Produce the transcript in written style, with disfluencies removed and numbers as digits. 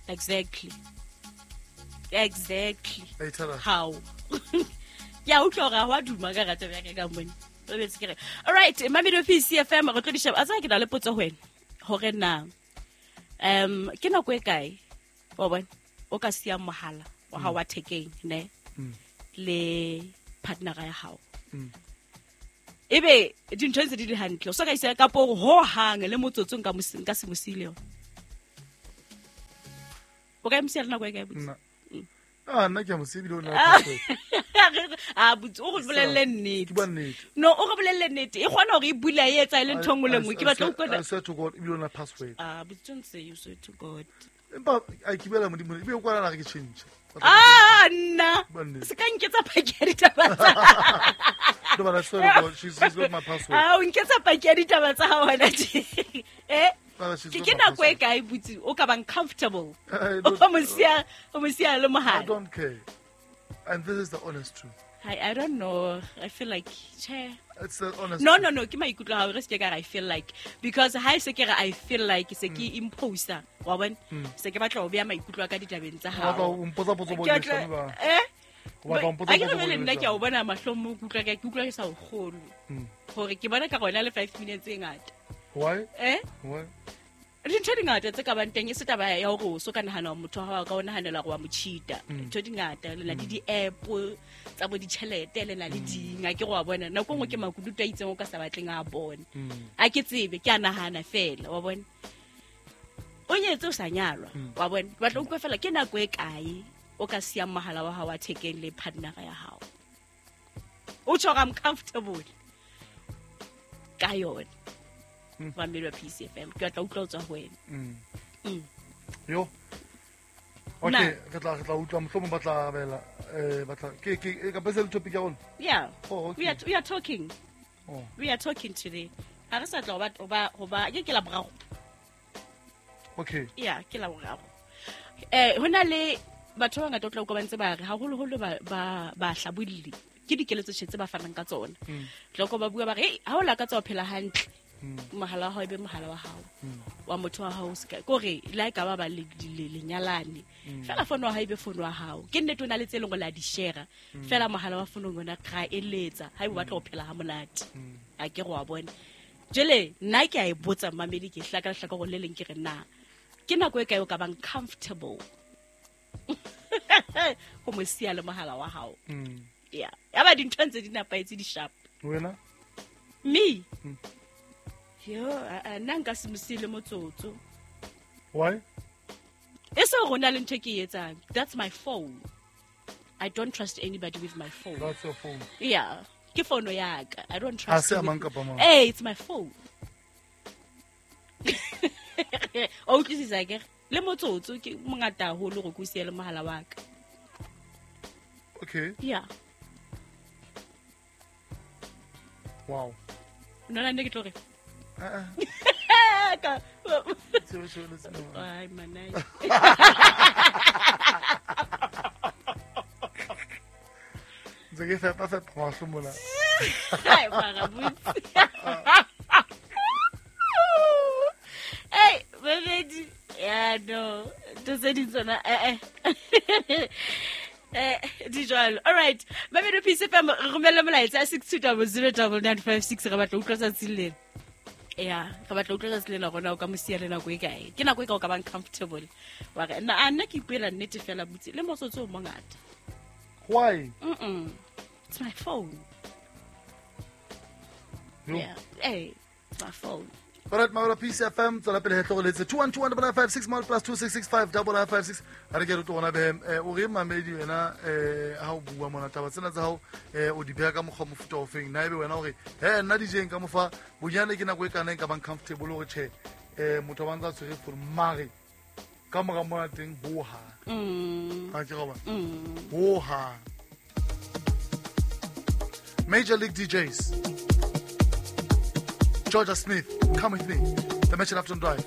Exactly, exactly. Hey, tell her. How ke a utlwa gore ga wa duma ka rata bjaka ka mone. O betse ke re, alright, Mamelodi PC FM, re tlo di sheba. A tsaya ke na le potso ho wena gore na ke nako e kae wa bona o ka siya mohala wa gago wa thekeng ne le partnera ya gago, ebe dintho ntse di le hantle, o so ka isa kapo ho hang le motsotso nka se mo siile yona? O ka e mo siya le nako e kae, botse? Nna. Ah, nna ke a mo siya ebile o na le password. A botse, o re bolelle nnete. Ke bua nnete. No, o re bolelle nnete. E kgona hore e bula e etsa e le ntho e nngwe le nngwe. Ke batla ho utlwa. I swear to God, ebile o na le password. Ah, botse, don't say you swear to God. Empa a ke buela Modimo, ebe o kwana re ke change. Ah, nna. Bua nnete. Se ka nketsa paki ya ditaba tsa. No, but I swear to God, she's got my password. Ah, o nketsa paki ya ditaba tsa hao hona tje. Eh? But she's Ke got ke my nako e password. kae, botse, o ka bang comfortable I o don't- mo siya le I mohala? don't care. And this is the honest truth. I don't know. I feel like, che. It's the honest No, truth. no, no, ke maikutlo a hao, re se ke ka re I feel like, because ha e se ke re I feel like, se ke imposer, wa bona, se ke batla ho beha maikutlo a ka ditabeng tsa O batla hao. ho mpotsa potso bo Ke leshano ba. Eh? O batla ho mpotsa A ke potso re bo jwale nna ke a leshano. o bona mahlong mo, ke utlwa ke sa o kgolwe gore ke bona ka gona le 5 minutes e ngata. Why? Eh? Why? Dintho di ngata tse ka bang teng, e se taba ya gore o so ka nagana gore motho wa gago ka o naganela gore wa mo cheata. Ntho di ngata, le na le di-app tsa bo ditšhelete, le na le ding, a ke go wa bona nako nngwe ke makunutu a itseng o ka sa batleng a bone. A ke tsebe, ke a nagana fela, wa bona, o nyetse o sa nyalwa, wa bona, ke batla utlwa fela ke nako e kae o ka siyang mohala wa gago wa thekeng le partnera ya gago, o tjho gore I'm comfortable ka yone. Mamedi wa PCFM, ke batla utlwa o tswa ho wena. Yo. Okay, re tla utlwa, mohlomong ba tla arabela, ba tla ke e ka bese le topic ya rona. Yeah. Oh, okay. We are talking. Oh. We are talking today. Ha re sa tla ho ba ke la boraro. Okay. Yeah, ke la boraro. Ho na le batho ba bangata o tla utlwa ba ntse ba re, haholoholo ba hlabolli, ke dikeletso tje tse ba fanang ka tsona. Tla utlwa ba bua ba re, "Hey, ha o lakatsa ho phela hantle, mohala wa hao e be mohala wa hao, wa motho wa hao se ka kore le ha e ka ba ba lenyalane fela, fono wa hao e be fono wa hao. Ke nnete o na le tse leng gore la di share fela, mohala wa fonong yona ra eletsa ha e o batla ho phela ha monate." A ke go wa bona jele, nna ke a e botsa mmamedi, ke hlaka lehlaka gore le leng ke re, na ke nako e kae o ka bang comfortable go mo siya le mohala wa hao? Ya ya ba dintho ntse di nepahetse, di sharp. Wena? Me? Yo, nna nka se mo siele motsotso. Why? E se gore o na le ntho e ke e etsang. That's my phone. I don't trust anybody with my phone. That's your phone. Yeah, ke fono yaka, I don't Ha trust se a you mang kapa mang. Hey, it's my phone. O utlwisisa kere le motsotso ke mongata haholo gore ke o siele mohala wa ka. Okay. Yeah. Wow. Nona nne ke tlo re Eh, Tsebe, tsebe, le tsebe. Ai, manai. Ntse ke fepa fepa mahlo mona. Ai, mara botse. Ei, babedi. Ya no, ntho tse ding tsona di jwalo. All right. Babedi Peace FM, re romelle molaetsa 62009956, re batla ho utlwa tsatsi lena. Ya, re batla ho utlwa tsatsi lena rona o ka mo siya le nako e kae. Ke nako e ka o ka bang comfortable. Wa re nna a nna ke ipuela nnete fela, butse le motsotso o mongata. Why? It's my phone. Yo. Yeah. Hey, it's my phone. Alright, Maola Peace FM, tswela pele he tlogoletse 212 956 mal plus 2665 956. Ha re ke re tlo bona behem, o re mamedi wena, ha o bua mona taba tsena tsa hao, o di beha ka mokgwa o mofuta ofeng, na ebe wena hore he nna dijeng ka mofa bonyane ke nako e kana e ka bang comfortable hore tjhe, motho wa ntsa tshwere phone, mare ka mora mona teng ho hang ha ke go bona ho hang. Major League DJs, Georgia Smith, Come With Me, The Match After Drive.